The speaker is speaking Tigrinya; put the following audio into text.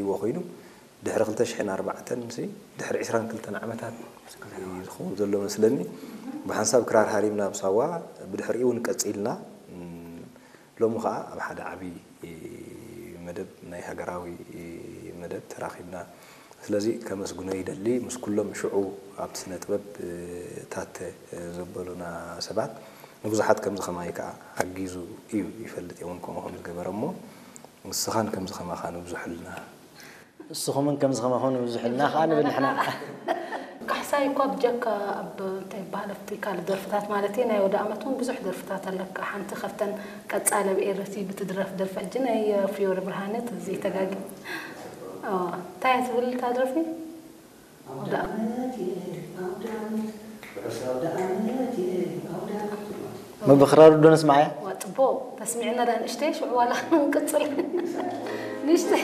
ዎ ኮይኑ ድሕሪ ክልተ ሽሕን ኣርባዕተን ሲ ድሕሪ ዕስራን ክልተን ዓመታት ዝኸውን ዘሎ መስለኒ። ብሓንሳብ ክራር ሃሪምና ኣብ ሳዋ፣ ብድሕሪኡ እውን ቀጺልና። ሎሚ ኸኣ ኣብ ሓደ ዓቢ መደብ፣ ናይ ሃገራዊ መደብ ተራኺብና። ስለዚ ከመስግኖ ይደሊ፣ ምስ ኩሎም ሽዑ ኣብቲ ስነ ጥበብ ታተ ዘበሉና ሰባት። ንብዙሓት ከምዚ ኸማይ ከኣ ሓጊዙ እዩ፣ ይፈልጥ እውን ከምኡ ከም ዝገበረ እሞ፣ ንስኻን ከምዚ ኸማኻ ንብዙሕልና። ንስኹምን ከምዚ ኸማኹም ንብዙሕልና ኸኣ ንብል ንሕና። ካሕሳይ እኳ ብጀካ ኣብ እንታይ ይበሃል ኣብቲ ካልእ ደርፍታት ማለት እዩ፣ ናይ ወደ ኣመት እውን ብዙሕ ደርፍታት ኣለካ። ሓንቲ ካብተን ቀጻለ ብኤረቲ ብትድረፍ ደርፊ ሕጂ ናይ ፊዮሪ ብርሃነ ተዘይተጋጊ እንታይ እያ ትብል እታ ደርፊ? ኣውደ ዓመት እየ፣ ኣውደ ዓመት፣ ርሑስ ኣውደ ዓመት እየ፣ ኣውደ ዓመት። ምብኽራሩ ዶ ንስማዓያ? ዋ ጽቡቕ ተስሚዕና ዳ ንእሽተይ ሽዑ ዋላ ንቅጽል ንእሽተይ